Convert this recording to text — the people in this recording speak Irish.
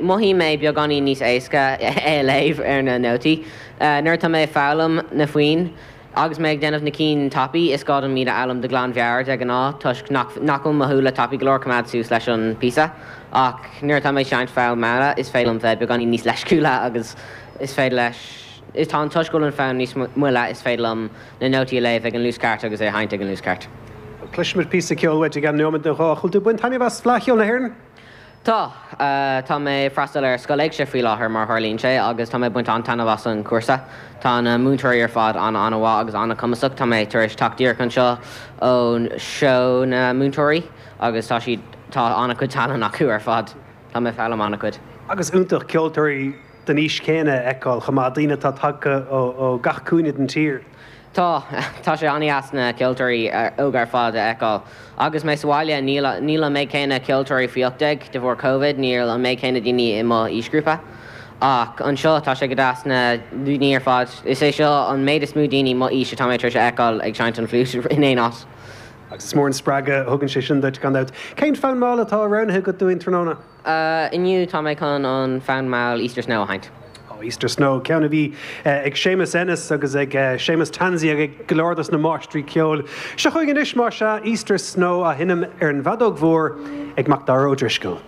Mothaím é beagáinín níos éasca é a léamh ar na nótaí. Nuair atá mé ag foghlaim na foinn agus mé ag déanamh na cinn tapaidh, is gá dom iad a fhoghlaim de ghlanmheabhair de ghnáth toisc nach bhfuil mo shúile tapaidh go leor coimeád suas leis an bpíosa. Ach nuair atá mé ag seinnt fonn mall, is féidir liom bheith beagáinín níos leisciúla agus is féidir leis, is tá an toisc go bhfuil an fonn níos moille, is féidir liom na nótaí a léamh ag an luas ceart agus é a sheinnt ag an luas ceart. Cloisfimid píosa ceoil uait i gceann nóiméad nó dhó. An bhfuil tú ag baint taitneamh as Fleadh Cheoil na hÉireann? Tá. Tá mé ag freastal ar Scoil Éigse faoi láthair, mar a tharlaíonn sé, agus tá mé ag baint an-taitneamh as an chúrsa. Tá na múinteoirí ar fad an-an-mhaith agus an-chumasach. Tá mé tar éis teacht díreach anseo ón seó na múinteoirí agus tá siad, tá an-chuid tallann acu ar fad. Tá mé ag foghlaim an-chuid. Agus iontach ceoltóirí den aois chéanna a fheiceáil chomh maith, daoine atá tagtha ó gach cúinne den tír. Tá. Tá sé an-deas na ceoltóirí óga ar fad a fheiceáil. Agus mé sa bhaile, níl níl an méid céanna ceoltóirí faoi 18, de bharr Covid, níl an méid céanna daoine i mo aoisghrúpa. Ach anseo, tá sé go deas na daoine ar fad. Is é seo an méid is mó daoine mo aois atá mé tar éis a fheiceáil ag seinnt an fliúit in aon áit. Agus is mór an spreagadh a thugann sé sin duit, gan dabht. Cén fonn mall atá roghnaithe agat dúinn tráthnóna? Inniu tá mé chun an fonn mall Easter Snow a sheinnt. Ó, Easter Snow, ceann a bhí ag Séamus Ennis agus ag Séamus Tansey agus ag go leor dos na máistrí ceoil. Seo chugainn anois, más ea, Easter Snow á sheinm ar an bhfeadóg mhór ag Macdara Ó Drisceoil.